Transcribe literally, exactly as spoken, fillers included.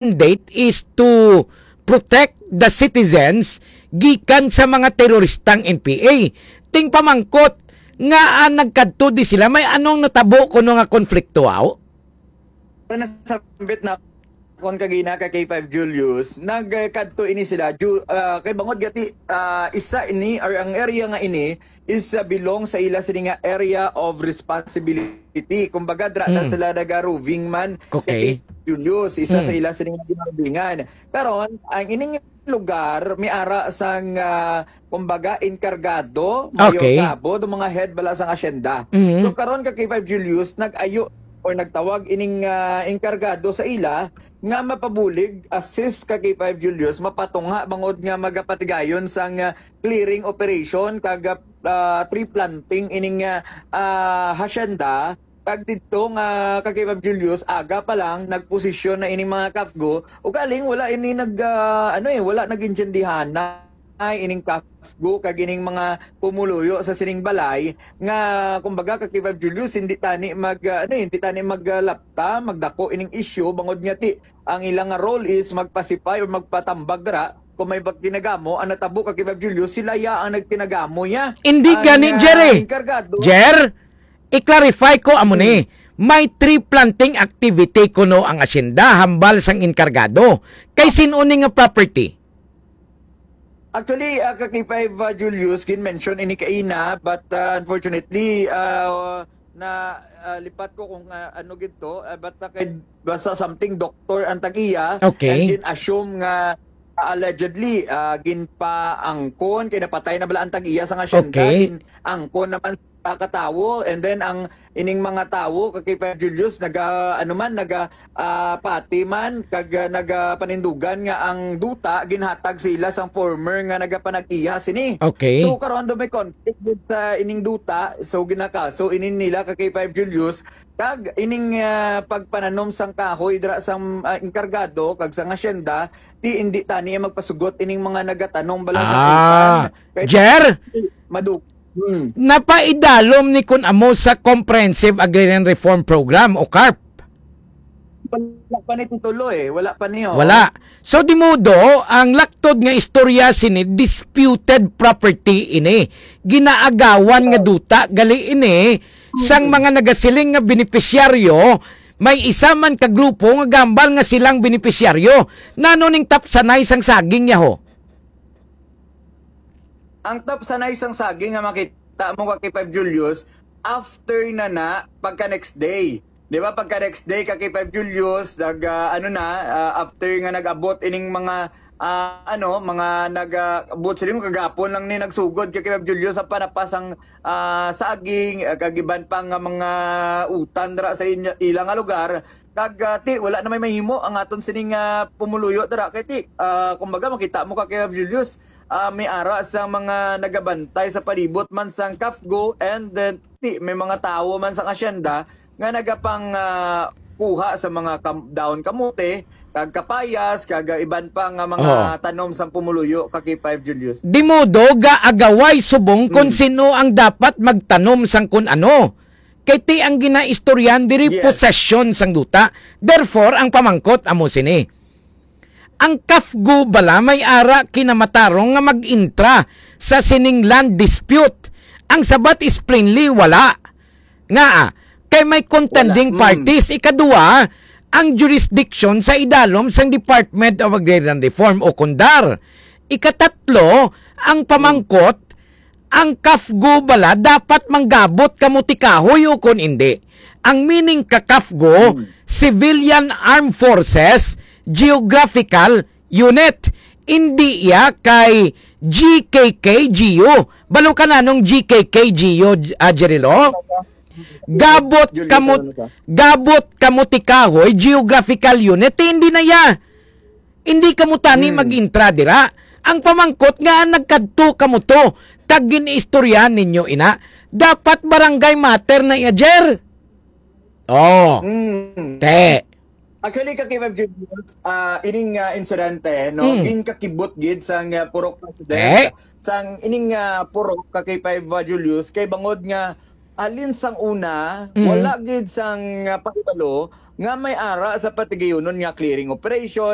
mandate is to protect the citizens gikan sa mga teroristang N P A. Ting pamangkot nga, ah, nagkadto di sila, may anong natabo kuno nga konflikto, aw? Sa nasambit na kon kagina ka K five Julius, nagkadto ini sila, Ju-, ah, kay bangod gati, ah, isa ini, or ang area nga ini is, ah, belong sa ila sini nga area of responsibility. Kumbaga, dra na Mm. sila naga-roving man. Okay. Kay Julius, isa sa Mm. ila sini nga ginarovingan. Karon, ang ining lugar, may ara sang, ah, kumbaga, enkargado, Mayor Okay. Cabo, do mga head bala sang asyenda. Mhm. So, karon ka K five Julius, nag-ayo or nagtawag ining, ah, enkargado sa ila nga mapabulig, assist ka K five Julius, mapatungha bangod nga magapatigayon sang, ah, clearing operation kag, ah, tree planting ining, ah, ah, hacienda. Kag didto nga ka K five Julius, aga pa lang nagposisyon na ining mga kafgo, ugaling wala ini nag, ah, ano eh, wala nag-intindihan na ay ining kafgo kag ining mga pumuluyo sa sining balay nga, kumbaga, ka K five Julius, hindi tani mag, ah, ano eh, hindi tani maglapta, magdako ining isyu, bangod nga ti ang ila nga role is magpasipay or magpatambag dira. Kung may bag-, kinagamo ang natabo ka K five Julius, sila ya ang nagkinagamo niya. Hindi Ang, gani, ah, Jerry. Enkargado. Jer, i-clarify ko amo ni. Hmm. May tree planting activity kuno ang asyenda hambal sang enkargado. Kay sin-o ni nga property? Actually, ah, ka K five, ah, Julius, gin-mention ini kaina, but, ah, unfortunately, ah, na, ah, lipat ko kung, ah, ano gid to, ah, but, ah, kay, basta something doctor ang tag-iya, Okay. and gin-assume nga, ah, allegedly, ah, ginpaangkon, kay napatay na bala ang tag-iya sa nga asyenda, Okay. gin-angkon naman sa katawo, and then ang ining mga tawo, ka K five Julius, naga, ano man, naga, ah, pati man, kag, ah, nagapanindugan nga ang duta ginhatag sa ila sang former nga nagapanag-iya sini. Okay. So, karon do may conflict gid sa ining duta, so ginakaso inin nila ka K five Julius, kag ining, ah, pagpananom sang kahoy dira sang, ah, enkargado kag sang asyenda, ti indi tani magpasugot ining mga nagatanom bala sa Ah, utan. Kay Jer? Madug-, Hmm. Napaidalom ni kun amo sa Comprehensive Agrarian Reform Program o CARP? Wala pa ni titulo eh. Wala pa ni, oh. Wala. So, di modo, ang laktod nga istorya sini, disputed property ini. Ginaagawan nga Oh. duta, gali ini, sang Mm. mga nagasiling nga benepisyaryo, may isa man ka grupo nga gambal nga silang benepisyaryo. Nano ning tapsanay sang saging, yaho? Ang tapsanay sang saging nga makita mo ka K five Julius, after na na, pagka next day. Di ba, pagka next day ka K five Julius, nag, ah, ano na, ah, after nga nag-abot ining mga, ah, ano, mga nag, ah, abot sila mo, kagapon lang ni nagsugod ka K five Julius, ang panapas ang, ah, saging, ah, kag iban pa nga mga utan dira sa inya, ila nga lugar, Kag, ah, ti, wala na may mahimo ang aton sining, ah, pumuluyo dira. Kay ti, ah, kumbaga, makita mo ka kay Julius, ah, may ara sa mga nagabantay sa palibot man sang CAFGU, and then, ti, may mga tawo man sa asyenda nga nagapang, ah, kuha sa mga kam-, dahon kamote, kag kapayas, kag, ah, iban pa nga mga Oh. tanom sang pumuluyo ka K five Julius. Di modo gaagaway subong kon Hmm. sino ang dapat magtanom sang kun ano. Kay ti ang ginaistoryahan diri Yes. posesyon sang duta. Therefore, ang pamangkot amo sini. Ang CAFGU bala may ara kinamatarong nga mag-intra sa sining land dispute? Ang sabat is plainly wala. Ngaa? Kay may contending Wala. Mm. parties. Ikadua, ang jurisdiction sa idalom sang Department of Agrarian Reform o kundar. Ikatatlo, ang pamangkot, ang CAFGU bala dapat manggabot kamo ti kahoy o kon indi? Ang meaning ka CAFGU, Hmm. Civilian Armed Forces Geographical Unit. Indi iya kay G K K G U. Balo ka na nung G K K G U, ah, Jerilo? Gabot Julius, kamo, ano ka? gabot kamo ti kahoy, geographical unit, indi na iya. Hindi kamo tani Hmm. mag-intra dira. Ang pamangkot nga nagkadto kamo to, kag gin-istoryahan ninyo ina, dapat barangay matter na iya, Jer. Oh. Hmm. Te. Actually, ka K five Julius, ah, ining, ah, insidente, no, Hmm. ginkakibot gid sang, ah, Purok President, Eh? sang ining, ah, Purok ka K five, ah, Julius, kay bangod nga, halin sang una, Mhm. wala gid sang, ah, pahibalo nga may ara sa patigayunon nga clearing operation,